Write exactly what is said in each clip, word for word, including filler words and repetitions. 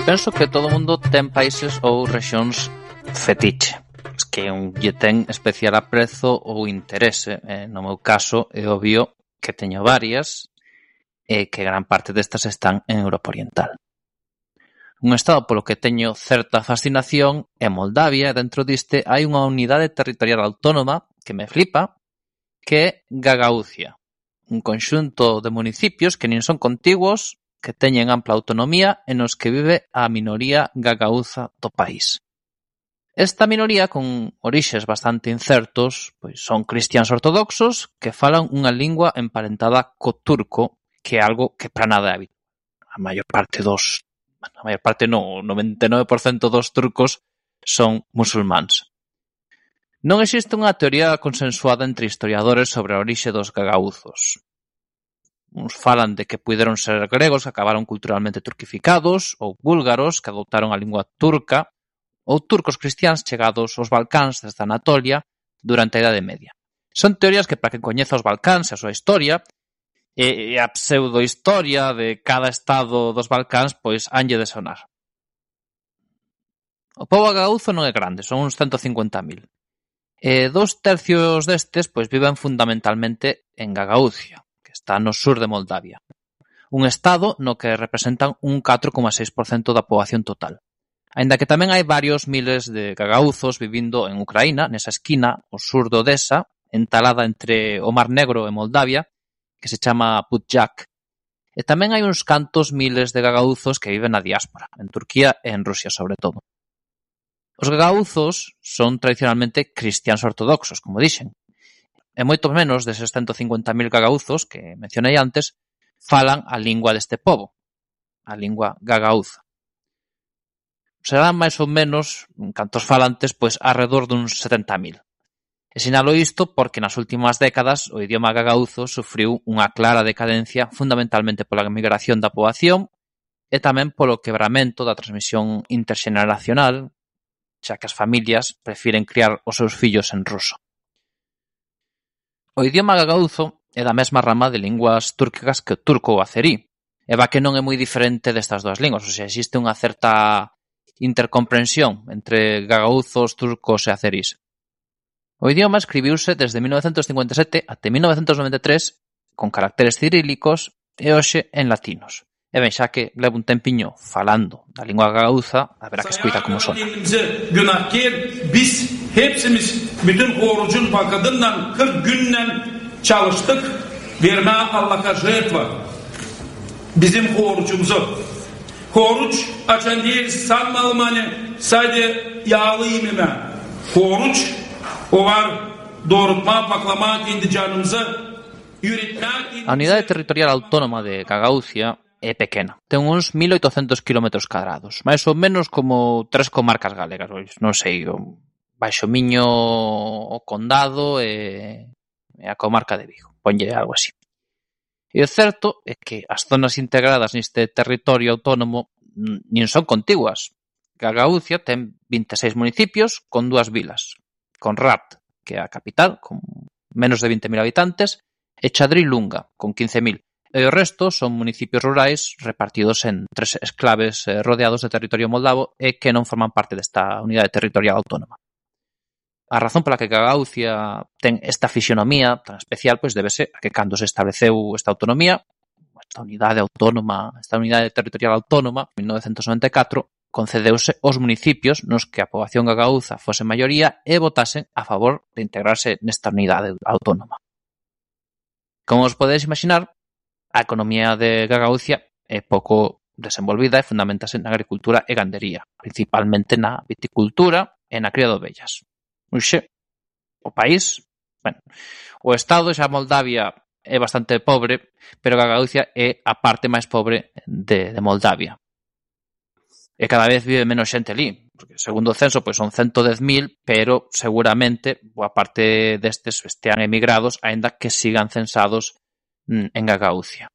Penso que todo o mundo ten países ou rexións fetiche, que un lle ten especial aprezo ou interese. Eh, no meu caso, é obvio que teño varias e que gran parte destas están en Europa Oriental. Un estado polo que teño certa fascinación é Moldavia, e dentro diste hai unha unidade territorial autónoma que me flipa, que é Gagauzia, un conxunto de municipios que nin son contiguos, que teñen ampla autonomía e nos que vive a minoría gagauza do país. Esta minoría, con orixes bastante incertos, pois son cristiáns ortodoxos que falan unha lingua emparentada co turco, que é algo que para nada é habitual. A maior parte dos, a maior parte non, o noventa e nove por cento dos turcos son musulmáns. Non existe unha teoría consensuada entre historiadores sobre a orixe dos gagauzos. Uns falan de que puideron ser gregos que acabaron culturalmente turquificados, ou búlgaros que adoptaron a lingua turca, ou turcos cristiáns chegados aos Balcáns desde Anatolia durante a Idade Media. Son teorías que, para quen coñeza os Balcáns e a súa historia, e a pseudohistoria de cada estado dos Balcáns, pois hanlle de sonar. O pobo gagauzo non é grande, son uns ciento cincuenta mil. E dos tercios destes pois viven fundamentalmente en Gagauzia, que está no sur de Moldavia. Un estado no que representan un catro coma seis por cento da poboación total. Aínda que tamén hai varios miles de gagauzos vivindo en Ucraína, nesa esquina, ao sur de Odesa, entalada entre o Mar Negro e Moldavia, que se chama Budjak. E tamén hai uns cantos miles de gagauzos que viven na diáspora, en Turquía e en Rusia sobre todo. Os gagauzos son tradicionalmente cristiáns ortodoxos, como dixen, e moito menos deses ciento cincuenta mil gagauzos que mencionei antes falan a lingua deste pobo, a lingua gagauza. Serán máis ou menos, en cantos falantes, pois arredor duns setenta mil. E sinalo isto porque nas últimas décadas o idioma gagauzo sufriu unha clara decadencia fundamentalmente pola migración da poboación e tamén polo quebramento da transmisión interxeneracional, xa que as familias prefiren criar os seus fillos en ruso. O idioma gagauzo é da mesma rama de linguas túrquicas que o turco ou azerí, e va que non é moi diferente destas dúas linguas, ou sea, existe unha certa intercomprensión entre gagauzos, turcos e azerís. O idioma escribiuse desde mil novecentos cincuenta e sete até mil novecentos noventa e tres con caracteres cirílicos e hoxe en latinos. E ben, xa que levo un tempiño falando da lingua gagauza, haberá que escuita como sona. Biz hepsimiz bütün orucun bakadından kırk günden çalıştık. Verme Allah'a жертва. Bizim orucumuzu. Oruç açan değil sanmalım hani sadece yağlı yememe. Oruç o var doğrultma, paklama kendi canımızı yüretmek. A unidade territorial autónoma de Gagauzia é pequena. Ten uns mil oitocentos kilómetros cadrados, máis ou menos como tres comarcas galegas, non sei, o Baixo Miño, o Condado e, e a comarca de Vigo, ponlle algo así. E o certo é que as zonas integradas neste territorio autónomo nin son contiguas. Gagauzia ten vinte e seis municipios con dúas vilas, Conrat, que é a capital, con menos de vinte mil habitantes, e Chadri-Lunga, con quince mil. E o resto son municipios rurais repartidos en tres exclaves eh, rodeados de territorio moldavo e que non forman parte desta unidade territorial autónoma. A razón pola que Gagauzia ten esta fisionomía tan especial pois débese a que cando se estableceu esta autonomía, esta unidade autónoma, esta unidade territorial autónoma, en mil novecentos noventa e catro, concedeuse aos municipios nos que a poboación gagauza fose maioría e votasen a favor de integrarse nesta unidade autónoma. Como os podedes imaginar, a economía de Gagauzia é pouco desenvolvida e fundamentase na agricultura e gandería, principalmente na viticultura e na cría de ovellas. Uxe, o país, bueno, o estado xa Moldavia é bastante pobre, pero Gagauzia é a parte máis pobre de, de Moldavia. E cada vez vive menos xente ali, porque segundo o censo pois son ciento dez mil, pero seguramente boa parte destes estean emigrados, aínda que sigan censados en Gagauzia.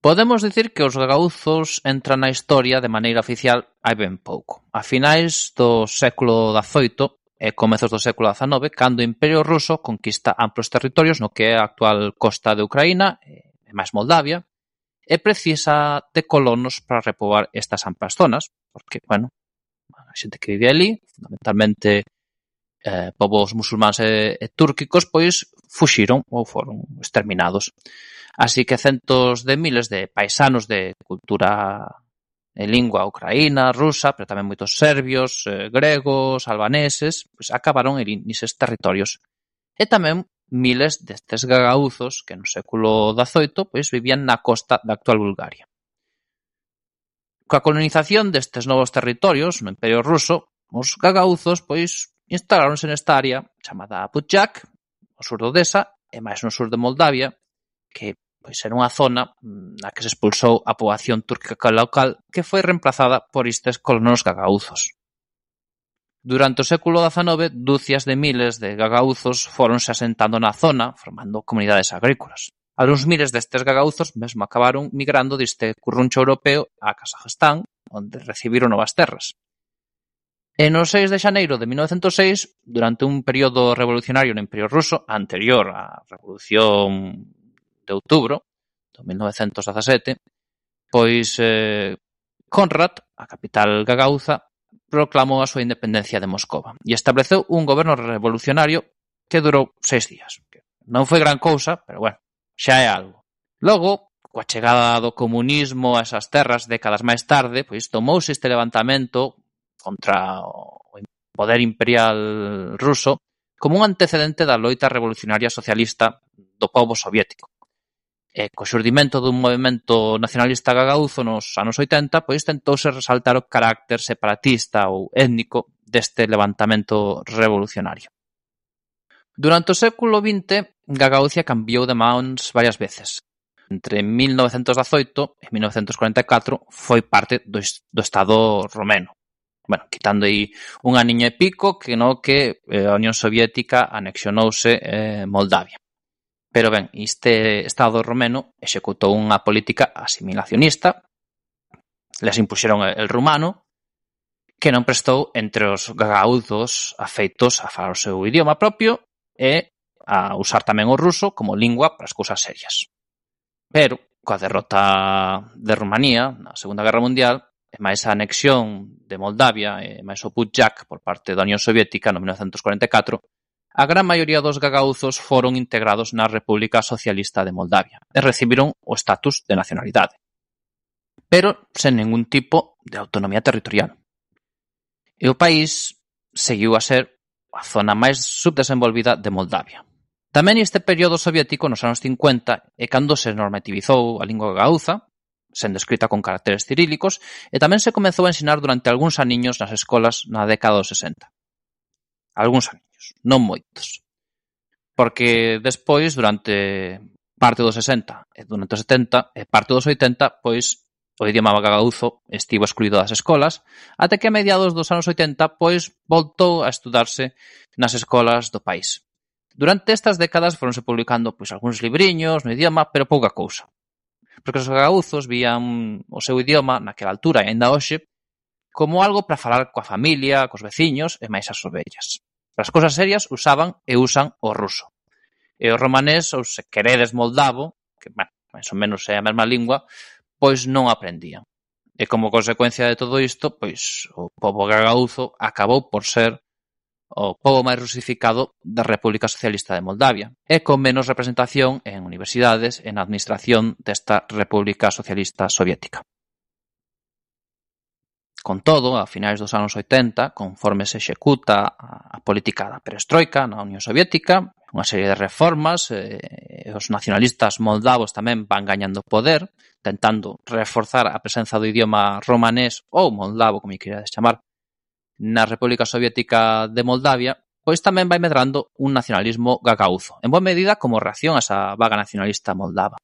Podemos dicir que os gagauzos entran na historia de maneira oficial hai ben pouco. A finais do século dezoito e comezos do século dezanove, cando o Imperio Ruso conquista amplos territorios no que é a actual costa de Ucraína e máis Moldavia, e precisa de colonos para repobar estas amplas zonas, porque, bueno, a xente que vive ali, fundamentalmente eh, povos musulmáns e, e túrquicos, pois fuxiron ou foron exterminados. Así que centos de miles de paisanos de cultura e lingua ucraína, rusa, pero tamén moitos serbios, eh, gregos, albaneses, pois acabaron en eses territorios. E tamén miles destes gagauzos que no século dezoito pois vivían na costa da actual Bulgaria. Coa colonización destes novos territorios no Imperio Ruso, os gagauzos pois instaláronse nesta área chamada Budjak, no sur de Odesa, e máis no sur de Moldavia, que pois era unha zona na que se expulsou a poboación túrquica local que foi reemplazada por estes colonos gagauzos. Durante o século dezanove, dúcias de miles de gagauzos foronse asentando na zona, formando comunidades agrícolas. Algúns miles destes gagauzos mesmo acabaron migrando deste curruncho europeo a Kazajstán, onde recibiron novas terras. E no seis de xaneiro de mil novecentos e seis, durante un período revolucionario no Imperio Ruso, anterior á Revolución de Outubro de mil novecentos dezasete, pois eh, Konrad, a capital gagauza, proclamou a súa independencia de Moscova e estableceu un goberno revolucionario que durou seis días. Non foi gran cousa, pero bueno, xa é algo. Logo, coa chegada do comunismo a esas terras décadas máis tarde, pois tomouse este levantamento contra o poder imperial ruso como un antecedente da loita revolucionaria socialista do pobo soviético. E co xurdimento dun movemento nacionalista gagauzo nos anos oitenta, pois tentouse resaltar o carácter separatista ou étnico deste levantamento revolucionario. Durante o século vinte, Gagauzia cambiou de mans varias veces. Entre mil novecentos dezoito e mil novecentos cuarenta e catro foi parte do, do Estado romeno. Bueno, quitando aí un aniño e pico que no que a Unión Soviética anexionouse eh, Moldavia. Pero ben, este Estado romeno executou unha política asimilacionista, les impuxeron el rumano, que non prestou entre os gagauzos afeitos a falar o seu idioma propio e a usar tamén o ruso como lingua para as cousas serias. Pero, coa derrota de Rumanía na Segunda Guerra Mundial, e máis a anexión de Moldavia e máis o Budjak por parte da Unión Soviética no mil novecentos cuarenta e catro, a gran maioría dos gagauzos foron integrados na República Socialista de Moldavia e recibiron o estatus de nacionalidade, pero sen ningún tipo de autonomía territorial. E o país seguiu a ser a zona máis subdesenvolvida de Moldavia. Tamén este período soviético nos anos cincuenta é cando se normativizou a lingua gagauza, sendo escrita con caracteres cirílicos, e tamén se comezou a ensinar durante algúns aniños nas escolas na década dos sesenta. Algúns aniños, non moitos. Porque despois, durante parte dos sesenta e durante os setenta e parte dos oitenta, pois o idioma gagauzo estivo excluído das escolas, até que a mediados dos anos oitenta, pois voltou a estudarse nas escolas do país. Durante estas décadas foronse publicando pois algúns libriños no idioma, pero pouca cousa. Porque os gagauzos vían o seu idioma naquela altura e ainda hoxe como algo para falar coa familia, cos veciños e máis as ovellas. Para as cousas serias usaban e usan o ruso. E o romanés, ou se queredes moldavo, que bueno, máis ou menos é a mesma lingua, pois non aprendían. E como consecuencia de todo isto, pois o pobo gagauzo acabou por ser o pobo máis rusificado da República Socialista de Moldavia e con menos representación en universidades e na administración desta República Socialista Soviética. Con todo, a finais dos anos oitenta, conforme se executa a política da perestroika na Unión Soviética, unha serie de reformas, e os nacionalistas moldavos tamén van gañando poder, tentando reforzar a presenza do idioma romanés ou moldavo, como queirades chamar, na República Soviética de Moldavia, pois tamén vai medrando un nacionalismo gagauzo, en boa medida como reacción a esa vaga nacionalista moldava,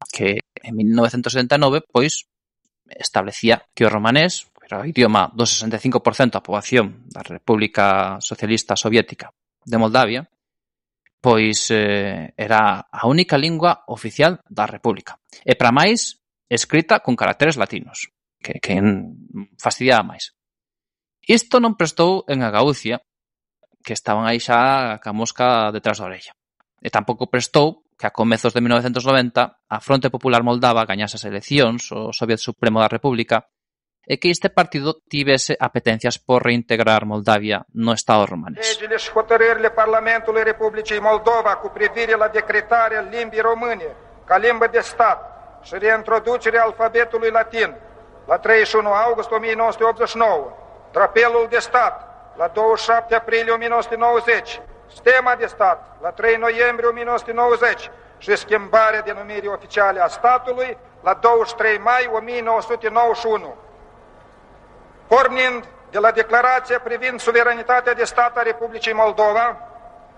que en mil novecentos setenta e nove, pois, establecía que o romanés, era o idioma do sesenta e cinco por cento da poboación da República Socialista Soviética de Moldavia, pois eh, era a única lingua oficial da República. E para máis, escrita con caracteres latinos, que, que fastidiaba máis. Isto non prestou en Gagauzia, que estaban aí xa ca mosca detrás da orella. E tampouco prestou que a comezos de mil novecentos noventa a Fronte Popular Moldava gañase as eleccións o Soviet Supremo da República e que este partido tivese apetencias por reintegrar Moldavia no Estado romanés. Legile și hotărârile Parlamentului Republicii Moldova cu privire la decretarea limbii române ca limbă de stat și reintroducerea alfabetului latin la treizeci și unu august o mie nouă sute optzeci și nouă, drapelul de stat la douăzeci și șapte aprilie o mie nouă sute nouăzeci, stema de stat la trei noiembrie o mie nouă sute nouăzeci și schimbarea denumirii oficiale a statului la douăzeci și trei mai o mie nouă sute nouăzeci și unu. Pornind de la declarația privind suveranitatea de stat a Republicii Moldova,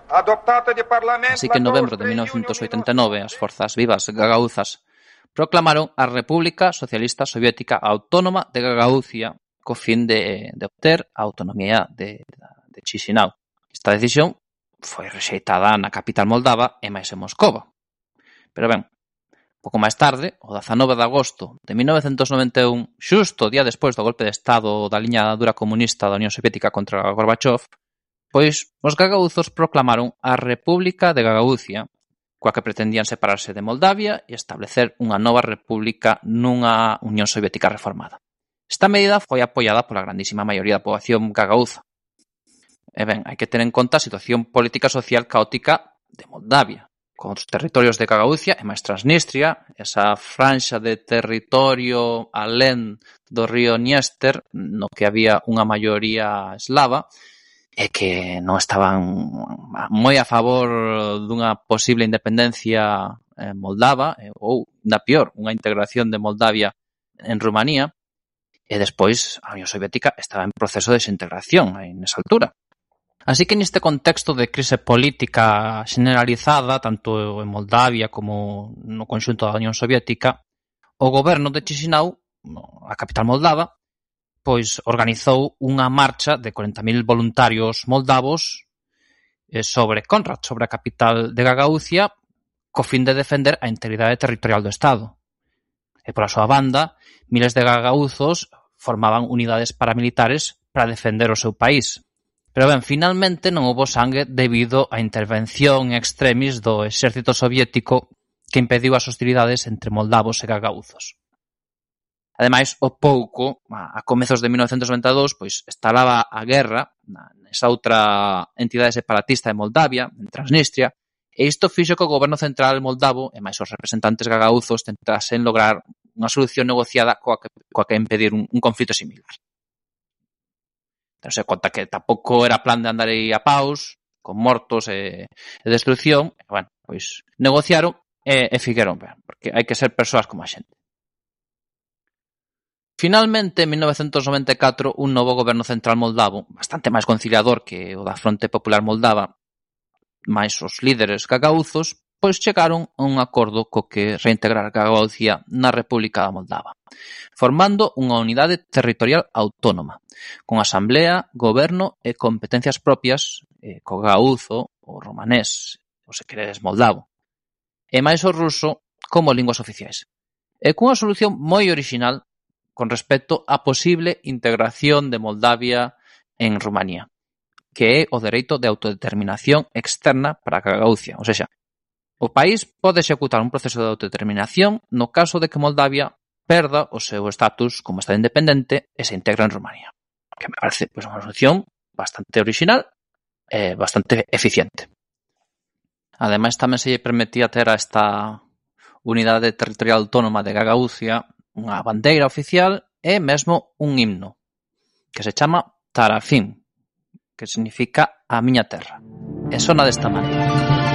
adoptată de Parlament... Así que en novembro de mil novecientos ochenta y nueve as forzas vivas gagauzas proclamaron a República Socialista Soviética Autónoma de Gagauzia co fin de, de obter a autonomía de, de Chisinau. Esta decisión foi rexeitada na capital moldava e máis en Moscova. Pero ben, pouco máis tarde, o dezanove de agosto de mil novecentos noventa e un, xusto o día despois do golpe de Estado da liña dura comunista da Unión Soviética contra Gorbachev, pois os gagauzos proclamaron a República de Gagauzia, coa que pretendían separarse de Moldavia e establecer unha nova república nunha Unión Soviética reformada. Esta medida foi apoiada pola grandísima maioría da poboación gagauza. E ben, hai que ter en conta a situación política e social caótica de Moldavia, con os territorios de Gagauzia e máis Transnistria, esa franxa de territorio alén do río Dniester, no que había unha maioría eslava, e que non estaban moi a favor dunha posible independencia moldava, ou, da pior, unha integración de Moldavia en Rumanía, e despois a Unión Soviética estaba en proceso de desintegración nesa altura. Así que neste contexto de crise política generalizada, tanto en Moldavia como no conxunto da Unión Soviética, o goberno de Chisinau, a capital moldava, pois organizou unha marcha de corenta mil voluntarios moldavos sobre Konrad, sobre a capital de Gagauzia, co fin de defender a integridade territorial do Estado. E pola súa banda, miles de gagauzos formaban unidades paramilitares para defender o seu país. Pero ben, finalmente non houbo sangue debido á intervención extremis do exército soviético que impediu as hostilidades entre moldavos e gagauzos. Ademais, o pouco, a comezos de mil novecentos noventa e dous, pois estalaba a guerra nesa outra entidade separatista de Moldavia, en Transnistria, e isto fixo que o goberno central moldavo e máis os representantes gagauzos tentasen lograr unha solución negociada coa que, coa que impedir un, un conflito similar. Ten-se conta que tampouco era plan de andar aí a paus, con mortos e, e destrucción, e, bueno, pois negociaron e, e figueron ben, porque hai que ser persoas como a xente. Finalmente, en mil novecentos noventa e catro, un novo goberno central moldavo, bastante máis conciliador que o da Fronte Popular Moldava, máis os líderes gagauzos, pois chegaron a un acordo co que reintegrar Gagauzia na República da Moldava, formando unha unidade territorial autónoma, con asamblea, goberno e competencias propias, eh, co gagauzo, o romanés, ou se queredes moldavo, e máis o ruso como linguas oficiais, e cunha solución moi orixinal con respecto á posible integración de Moldavia en Rumanía, que é o dereito de autodeterminación externa para Gagauzia. Ou seja, o país pode executar un proceso de autodeterminación no caso de que Moldavia perda o seu estatus como Estado independente e se integra en Rumanía. Que me parece pois, unha solución bastante original e bastante eficiente. Ademais, tamén se lle permitía ter a esta unidade territorial autónoma de Gagauzia unha bandeira oficial e mesmo un himno que se chama Tarafim, que significa a miña terra. E sona desta maneira.